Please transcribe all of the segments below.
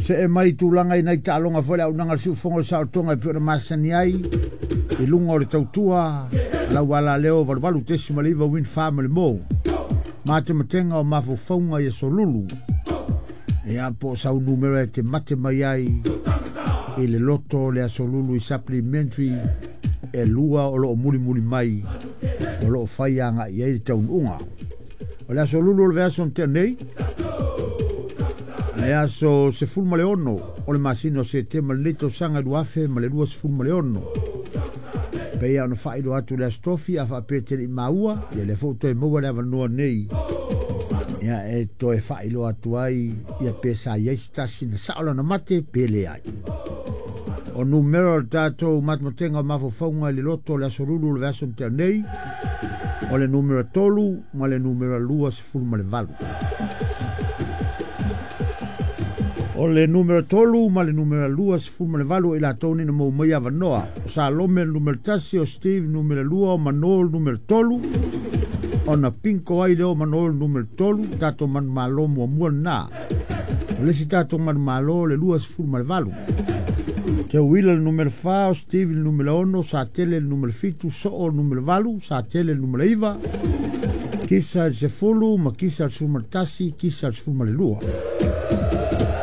Se e mai tulaga i nai taaloga foi le auaunaga a le siufofoga o le saolotoga e pei ona masani ai i luga o le tautua lau alaleo 88.9 Win Farm le mo matematega o mafaufauga i aso lulu ia po o sau numera e te mate mai ai i le loto o le aso lulu i supplementary e lua o loo mulimuli mai o loo fai agai ai le taunuuga. O le aso lulu o le vaiaso na tea nei, le aso 16 o le masina o Setema lenei tausaga 2026. Pei ona faailoa atu le aso tofi a faapea te le i maua, ia lea foi ua toe maua le avanoa nei ia e toe faailoa atu ai ia pe sa i ai se tasi na sao lana mate pe leai. O numera o le tatou matematega o mafaufauga i le loto o le aso lulu o le vaiaso na tea nei, o le numera 3 ma le numera 28. O le numera 3 ma le numera 28 o i latou nei na maua mai avanoa. O Salome le numera 1, o Steve numera 2, o Manol numera 3, ona pinko ai lea o Manol numera 3, tatou manumalo muamua lena. O le isi tatou manumalo le 28. Te Wila le numera 4, o Steve le numera 6, Satele le numera 7, Soo le numera 8, Satele le numera 9, Kisa le 10, ma Kisa le 11, Kisa le 12.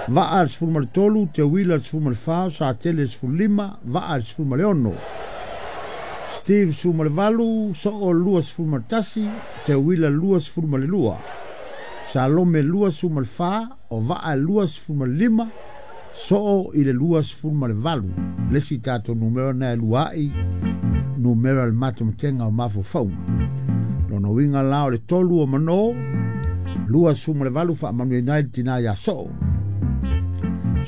Vaa le 13, Te Wila le 14, Satele le 15, Vaa le 16. Steve 18, Soo le 21, Te Wila le 22. Salome 24, o Vaa le 25, Soo i le 28. Le isi tatou numera na e luai, numera le matematega o mafaufauga. Lona uiga la o le 3 o Mano, 28 faamanuiaina ai le tina ia Soo.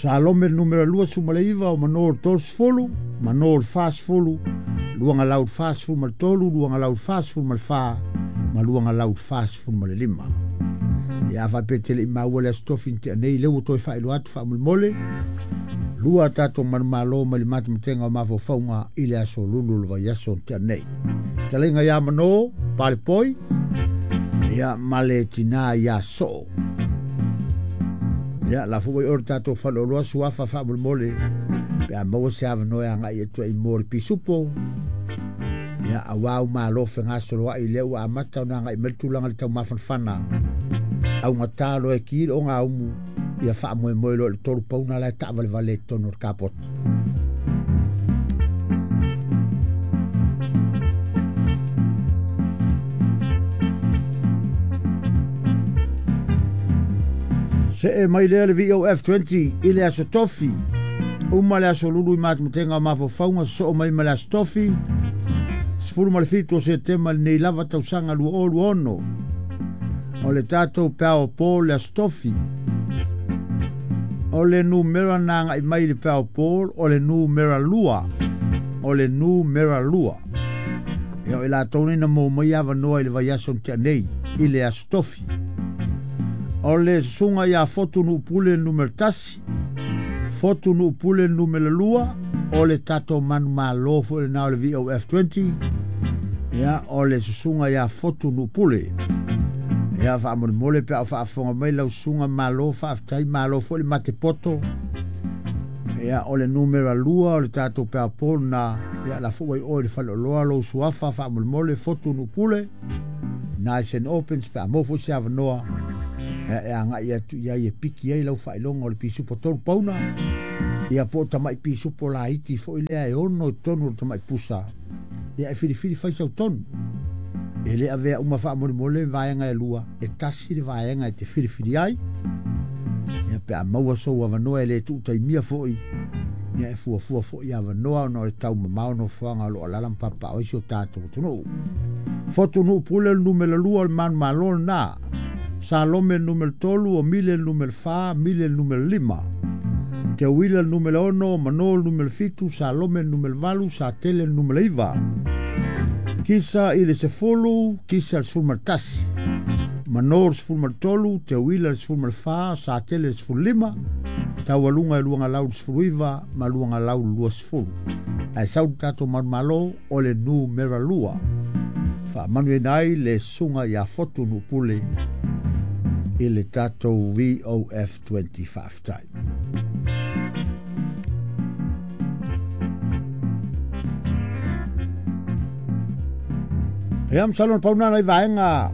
Salome le numera 29 o Mano le 30, Mano le 40, luangalau le 43, luangalau le 44, ma luangalau le 45. Ia faapea te le i maua le aso tofi na tea nei, lea ua toe faailoa atu faamolemole, lua tatou manumalo mai le matematega o mafaufauga i le aso lulu o le vaiaso na tea nei. Fetalaiga ia Mano, Palepoi, ia ma le tina ia Soo. Ia, la foi oi o le tatou faleoloa suafa faamolemole, pe a maua se avanoa e agai atu ai mo le pisupo. Ia, auā u malo fegasoloai lea ua amata ona agai mai le tulaga i le taumafanafana. Augata loa e ki le ogaumu, ia faamoemoe loa i le 3 pauna la e taavalevale i totonu o le kapoti. See mai lea le VOF20 i le aso tofi. Uma le aso lulu i matematega o mafaufauga sosoo mai ma le aso tofi. 17 o Setema lenei lava tausaga 2026. O le tatou Powerball le aso tofi. O le numera na agai mai i le Powerball o le numera 2. O le numera 2. Ia o i latou nei na maua mai avanoa i le vaiaso na tea nei i le aso tofi. O le susuga ia Fotu Nuupule le numera 1, Fotu Nuupule le numera 2, o le tatou manumalo foi lena o le VOF20, ia o le susuga ia Fotu Nuupule. Ia faamolemole pe a o faafofoga mai lau susuga, malo faafetai, malo foi le mate poto. Ia o le numera 2 o le tatou Powerball na, ia la foi oi le faleoloa lou suafa faamolemole Fotu Nuupule. Nice and opens pe a maua foi se avanoa e agai atu i ai e piki ai lau faailoga o le pisupo 3 pauna. Ia po o tamai pisupo laiti foi lea e 6 i totonu o le tamai pusa. Ia e filifili fai sau tonu. E le avea uma faamolemole vaega e lua, e tasi le vaega e te filifili ai. Ia pe a maua sou avanoa e le tuutaimia foi, ia e fuafua foi avanoa ona o le taumamao nofoaga o lo o alaala ma papapao ai si o tatou atunuu. Fotu Nuupule le numera 2 o le manumalo lena. Salome le numera 3, o Mile le numera 4, Mile le numera 5. Te Wila le numera 6, Mano le numera 7, Salome le numera 8, Satele le numera 9. Kisa i le 10, Kisa le 11. Mano le 13, Te Wila le 14, Satele le 15, Taualuga e luangalau le 19 ma luangalau le 20. Ae sau le tatou manumalo o le numera 2. Faamanuiaina ai le susuga ia Fotu Nuupule I le tatou VOF20 faafetai. Ia masalo na pau na nai vaega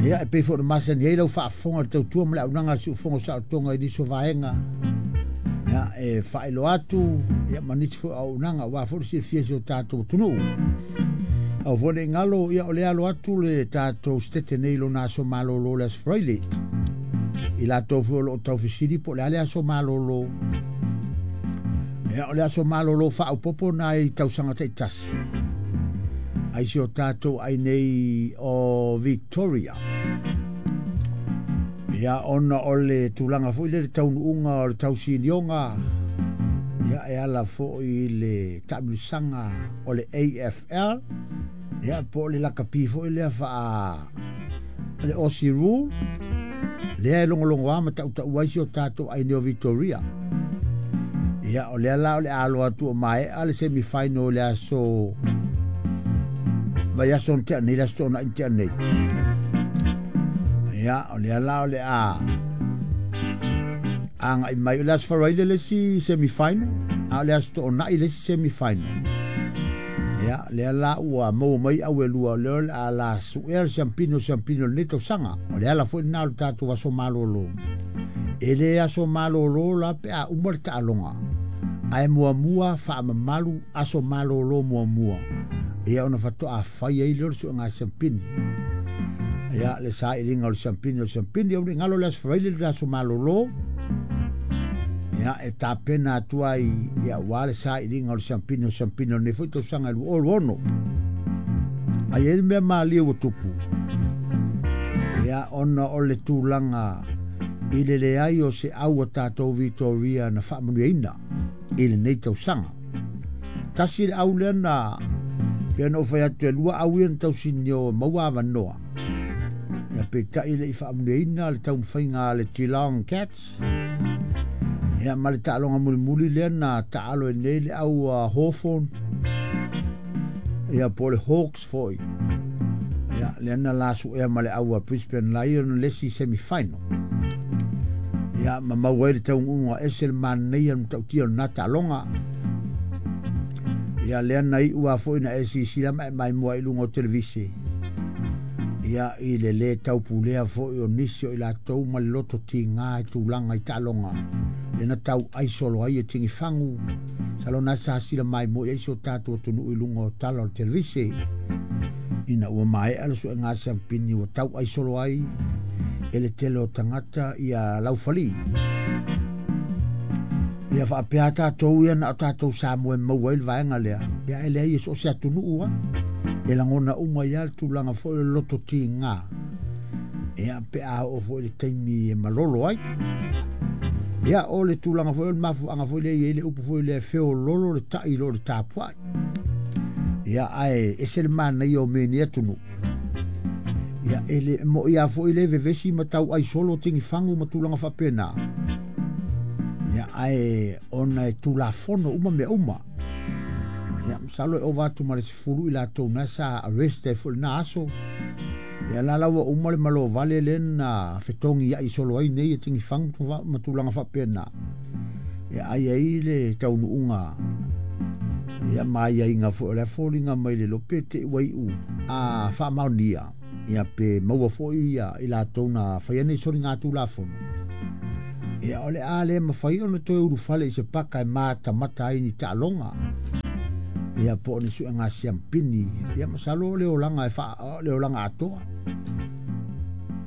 ia e pei foi ona masani ai lau faafofoga le tautua ma le auaunaga a le siufofoga o saolotoga i nisi o vaega ia e faailoa atu ia ma nisi foi o auaunaga aua foi le silafia e si o tatou atunuu. Aua foi ne i galo ia o lea alo atu le tatou setete nei i lona aso malolo le Aso Faraile. I latou foi o lo o taufesili po o le a le aso malolo. Ia o le aso malolo faaopoopo na i tausaga taitasi ai si o tatou ai nei o Victoria. Ia ona o le tulaga foi lea le taunuuga o le tausinioga ia e ala foi i le taamilosaga o le AFL ia po o le lakapi foi lea faa le Aussie Rule lea e logologoa ma tautau ai si o tatou ai nei o Victoria. Ia o lea la o le alo atu o maea le semifinal le aso vaiaso na tea nei, le aso Toonai na tea nei. Ia o lea la o le a agai mai o le Aso Faraile le isi semifinal, a o le Aso Toonai le isi semifinal. Ia lea la ua maua mai au e lua o lea o le a la suea le siampini o siampini o lenei tausaga. O le ala foi lena o le tatou aso malolo. E le aso malolo la pe a uma le taaloga, ae muamua faamamalu aso malolo muamua. Ia ona faatoa fai ai lea o le suega siampini. Ia le sailiga o le siampini o le siampini, au ne i galo le Aso Faraile le aso malolo. Ia e tapena atu ai ia aua le sailiga o le siampini o le siampini o lenei foi tausaga e 2026. Ai ai le mea malie ua tupu. Ia ona o le tulaga i le leai o se au a tatou Victoria na faamanuiaina i lenei tausaga. Tasi le au lea na pei ona ou fai atu e lua au ia na tausinio e maua avanoa. Ia peitai e le i faamanuiaina le taumafaiga a le Geelong Cats. Ia ma le taaloga mulimuli lea na taalo ai nei le au a Hawthorn. Ia po o le Hawks foi. Ia lea na la suea ma le au a Brisbane Lion le isi semifinal. Ia ma maua ai le taunuuga ese le manaia le matautia o lena taaloga. Ia lea na iu a foi na e sisila ma e maimoa i luga o televise. Ia i le lē taupulea foi o nisi o i latou ma le loto tiga i tulaga i taaloga lea na tauai solo ai e tigifagu masalo na sa sila maimoa i ai si o tatou atunuu i luga o tala o le televise ina ua maea le suega siampini ua tauai solo ai e le tele o tagata ia laufali. Ia faapea tatou ia na o tatou Samoa e maua ai le vaega lea. Ia e leai e so o se atunuu lava. E lagona uma ai lava le tulaga foi o le loto tiga. Ia pe a oo foi i le taimi e malolo ai. Ia o le tulaga foi o le mafuaaga foi lea e i ai le upu foi lea e feoloolo le tai i lo le tapuai. Ia ae ese le manaia o mea i nei atunuu. Ia e le moi lava foi le vevesi ma tauai solo tigifagu ma tulaga faapena. Ia ae ona e tulafono uma mea uma. Ia masalo e ova atu ma le 10 i latou na sa arrest ai foi lena aso. Ia la la ua uma le malovale lea na fetogi ai solo ai nei e tigifagu ma tulaga faapena. Ia ai ai le taunuuga ia ma aiaiga foi o le foliga mai le lope te ua iu a faamaonia. Ia pe maua foi ia i latou na faia nei soliga tulafono. Ia o le a le mafai ona toe ulufale i se paka e matamata ai ni taaloga. Ia po o ni suega siampini. Ia masalo o le olaga e faa, o le olaga atoa.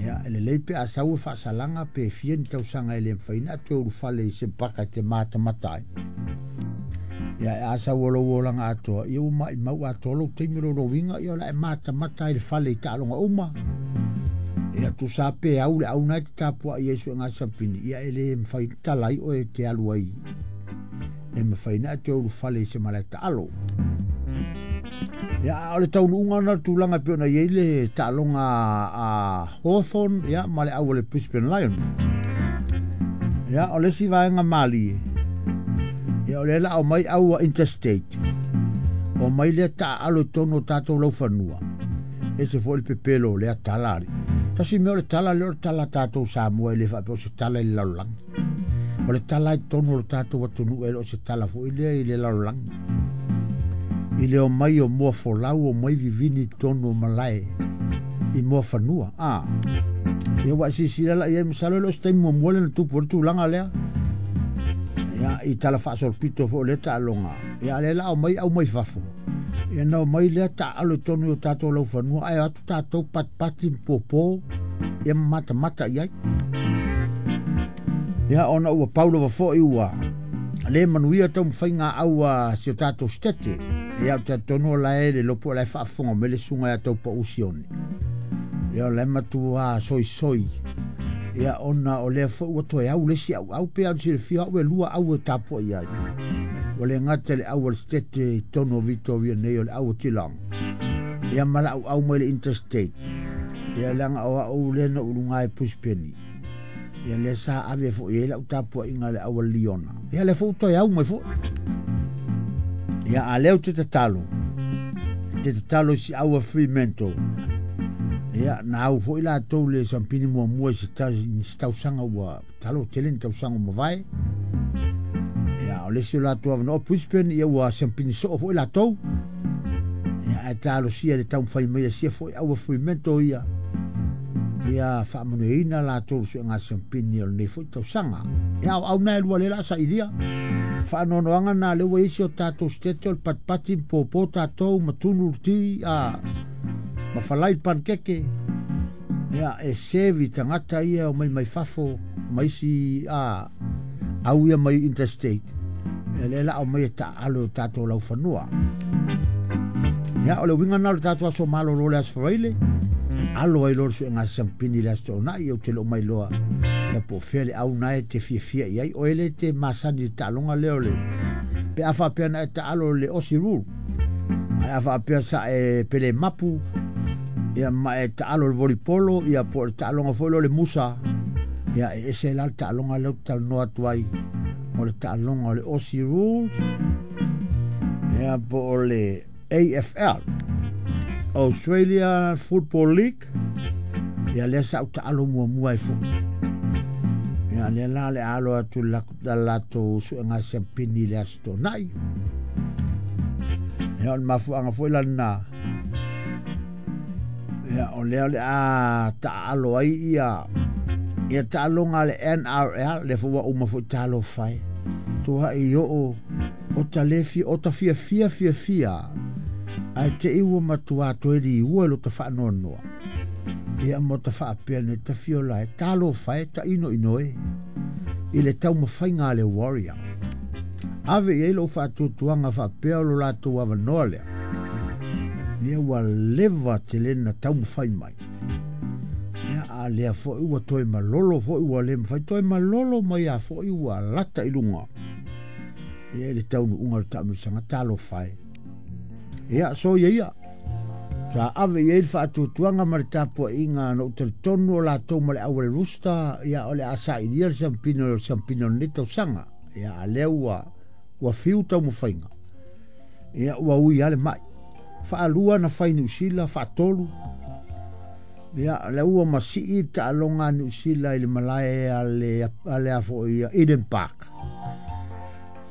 Ia e lelei pe a sau e faasalaga pe fia ni tausaga e le mafai ona toe ulufale i se paka e te matamata ai. Ia e a sau o lou olaga atoa, ia ua maimau atoa lou taimi o lou lowiga, ia o le a e matamata ai i le fale i taaloga uma. Ia tusa pe au le au na e te tapuai ai suega siampini, ia e le mafai ona tala ai oe e te alu ai e mafai ona e toe ulufale i se malae taalo. Ia a o le taunuuga na o le tulaga e pei ona i ai le taaloga a Hawthorn ia ma le au a le Brisbane Lion. Ia o le isi vaega malie, ia o lea la aumai au a Interstate. O mai lea taaalo i totonu o tatou laufanua. Ese foi le pepelo o lea tala ali. Tasi mea o le tala lea o le tala a tatou Samoa e le faapea o se tala i le lalolagi. O le tala i totonu o le tatou atunuu e le o se tala foi lea i le lalolagi. I le omai o moa folau, omai vivini i totonu o malae i moa fanua. Ia ua e silasila la i ai, masalo e le o se taimi muamua lea na tupu ai le tulaga lea. Ia, i tala faasolopito foi o lea taaloga. Ia, a o lea la a omai au mai fafo. Ia na omai lea taaalo i totonu o tatou laufanua, ae o atu tatou patipati ma popo, ia ma matamata i ai. Ia, ona ua pau lava foi ua le manuia taumafaiga au a si o tatou sitete. Ia, ou te talitonu o la e le iloa po o la e faafofoga mai le susuga ia Taupau Sione. Ia, o la e matua soisoi. Ia, ona o lea foi ua toe au le isi auau, pe ona silafia au e lua au e tapuai ai. Ua le gata i le au a le sitete i totonu o Victoria nei o le au o Geelong. Ia ma le auau mai le interstate. Ia leaga o au lea na ou i luga i Brisbane. Ia lea sa ave foi i ai lau tapuaiga i le au a Liona. Ia lea foi ua toe au mai foi. Ia a lea ou te tatalo, te tatalo i si au a Fremantle. Ia na au foi latou le sampini muamua i se tausaga ua talo tele ni tausaga ua mavae. Ia o le isi o latou avanoa o Brisbane, ia ua sampini soo foi latou. Ia ae talosia le taumafai mai a sia foi au a Fremantle ia. Ia faamanuiaina latou le suega sampini o lenei foi tausaga. Ia o au na e lua lea la sailia. Faanoanoaga na lea ua isi o tatou sitete o le patipati ma popo tatou ma tunu le ti a ma falai le pankeke. Ia e sevi tagata ia o mai mai fafo ma isi a au ia mai interstate. Ia lea la o mai e taaalo o tatou laufanua. Ia o le uiga na o le tatou aso malolo le aso Faraile. Alo ai loa le suega sampini le aso Toonai, ou te le o mai loa. Ia po o fea le au na e te fiafia i ai. O ele te masani i le taaloga lea o le pe a faapea na e taalo le Aussie Rule. Ae a faapea sa e pele mapu, ia ma e taalo le volleyball, ia po o le taaloga foi lea o le musa. Ia e ese la le taaloga lea ou te talanoa atu ai. O le taaloga o le Aussie Rules, ia po o le AFL, Australia Football League. Ia lea sa ou taalo muamua ai foi. Ia lea la le alo atu la latou suega siampini le aso Toonai. Ia o le mafuaaga foi la lena. Ia o lea o le a taaalo ai ia ia taaloga a le NRL, lea foi ua uma foi talofa e. Tuai oo o ta le fia, o ta fia fia fia fia, ae te i ua matua toe liua i lo ta faanoanoa. Ia mo ta faapea nei ta fiola e talofa e ta ino ino e i le taumafaiga a le Warrior. Ave i ai lou faatuatuaga faapea o lo latou avanoa lea. Ia ua leva tele na taumafai mai. Ia a lea foi ua toe malolo foi ua le mafai toe malolo mai a foi ua lata i luga. Ia i le taunuuga o le taamilosaga talofa e. Ia so ia ia. Sa ave i ai le faatuatuaga ma le tapuaiga na ou talitonu o latou ma le au a le Rooster, ia o le a sailia le siampina o le siampina o lenei tausaga. Ia a lea ua ua fiu taumafaiga. Ia ua ui lava le mai. Faalua na fai Niu Sila, faatolu. Ia lea ua masii le taaloga a Niu Sila i le malae a le a le a foi Eden Park.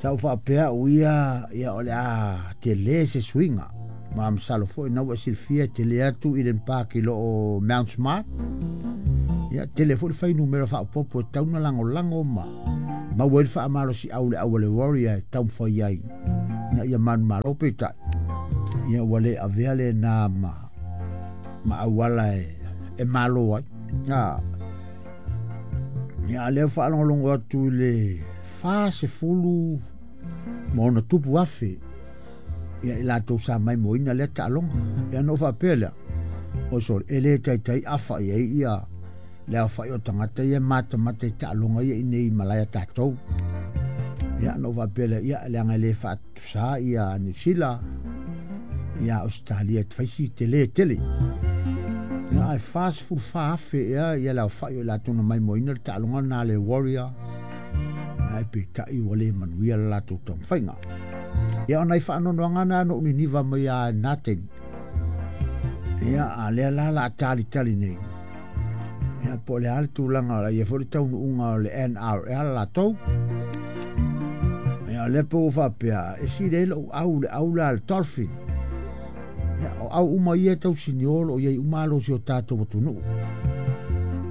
Sa ou faapea au ia, ia o le a tele se suiga. Ma masalo foi na ua e silafia e tele atu Eden Park i lo o Mount Smart. Ia tele foi le fuainumera faaopoopo e tatau ona lagolago ma maua ai le faamalosiau i le au a le Warrior e taumafai ai ina ia manumalo. Peitai, ia ua le avea lena ma ma auala e, e malo ai. Ia, a lea faalogologo atu i le 40 ma ona tupu afe ia i latou sa maimoaina lea taaloga. Ia ona ou faapea lea, oi sole, e le taitai afa i ai ia le aofai o tagata ia e matamata i taaloga ia i nei malae a tatou. Ia ona ou faapea lea, ia leaga e le faatusa ia Niu Sila ia Ausetalia e fai si tele tele. Ia ae 44,000 ea ia le aofai o i latou na maimoaina le taaloga lena a le Warrior. Ae peitai ua le manuia le latou taumafaiga. Ia o nai faanoanoaga na na ou niniva mai a i lena taimi. Ia a lea la la a talitali nei. Ia po o le a le tulaga o le a i ai foi le taunuuga o le NRL latou. Ia o lea pe ua faapea, e sili ai lou au i le au la a le Dolphin. Ia o au uma ia e tausinio o lo o i ai uma alo o si o tatou atunuu.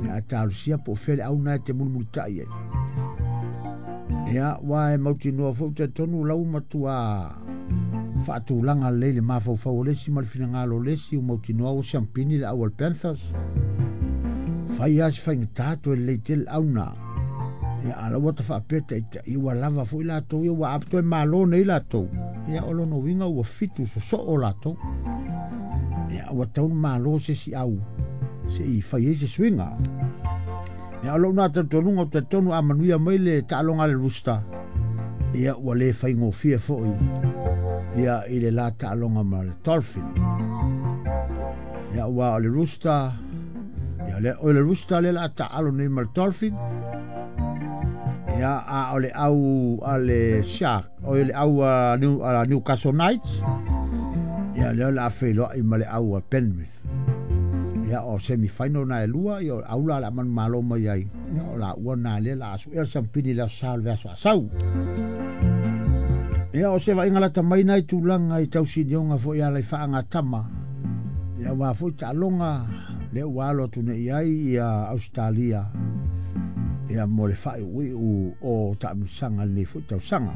Ia ae talosia po o fea le au lena e te mulimulitai ai. Ia, aua e mautinoa foi ou te talitonu o la ua matua faatulaga lelei le mafaufau o le isi ma le finagalo o le isi, ua mautinoa ua siampini le au a le Panthers. Fai lava si faigata toe lelei tele le au lena. Ia, a o la ua ta faapea taitai, ua lava foi latou ia, ua a toe malo nei latou, ia o lona uiga ua 7 sosoo latou. Ia, ua tatau ona malo se isi au se i fai ai se suiga. Ia, o lou na talitonuga, ou te talitonu a manuia mai le taaloga a le Rooster, ia ua le faigofie foi ia i le la taaloga ma le Dolphin. Ia ua o le Rooster, ia le, o le Rooster le la taalo nei ma le Dolphin. Ia a o le au a le Shark, o le au a Newcastle Knights, ia lea o le a feiloai ma le au a Penrith. Ia o semi-final na e lua, ia o au la o le a manumalo mai ai, ia o la ua na lea la asu ea le siampini le aso sa o le vaiaso a sau. Ia o se vaaiga lata mai nai tulaga i tausinioga foi ala i faagatama, ia aua foi taaloga lea ua alo atu nei ai ia Ausetalia ia mo le faaiuiu o taamilosaga i lenei foi tausaga.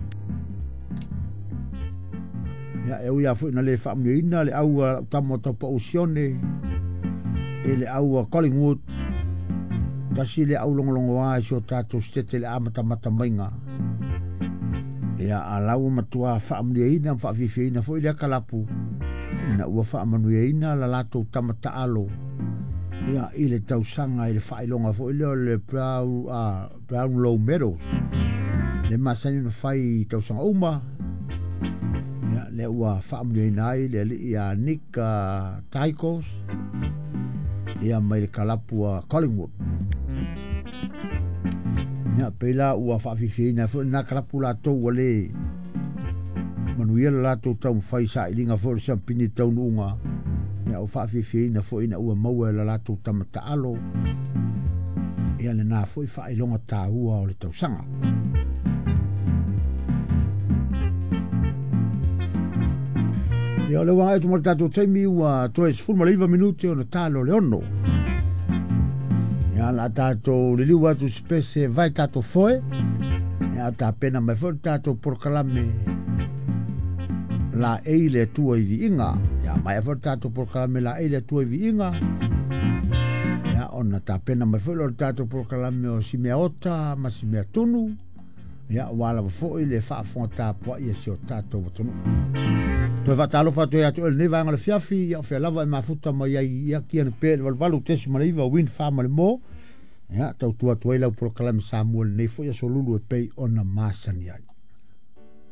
Ia e ui lava foi ina le faamanuiaina le au a lau tama o Taupau Sione i le au a Collingwood, tasi le au logologoa i si o tatou setete i le amatamata maiga. Ia a la ua matua faamanuiaina ma faafiafiaina foi lea kalapu ina ua faamanuiaina la latou tama taalo ia i le tausaga i le faailoga foi lea o le Brownlow Medals le masani ona fai i tausaga uma. Ia lea ua faamanuiaina ai le alii a Nick Taikos ia mai le kalapu a Collingwood. Ia pei la ua faafiafiaina foi lena kalapu latou ua le manuia le latou taumafai sailiga foi o le siampini i taunuuga. Ia ua faafiafiaina foi ina ua maua e la latou tama taalo ia lena foi faailoga taua o le tausaga. Ia o le ua agai atu ma le tatou taimi ua toe 19 minute ona talo le 6. Ia la tatou liliu atu se pese vai tatou foe. Ia tapena mai foi le tatou polokalame la ei le Atua i viiga. Ia mai foi le tatou polokalame la ei le Atua i viiga. Ia ona tapena mai foi le tatou polokalame o si mea ota ma si mea tunu. Ia ua lava foi le faafofoga tapuai a si o tatou atunuu. Toe faatalofa atu ai ia te oe i lenei vaega o le afiafi, ia o fea lava e mafuta mai ai ia kia na pea i le 88.9 Wind Farm ma le Mo. Ia tautua atu ai lau polokalame Samoa i lenei foi aso lulu e pei ona masani ai.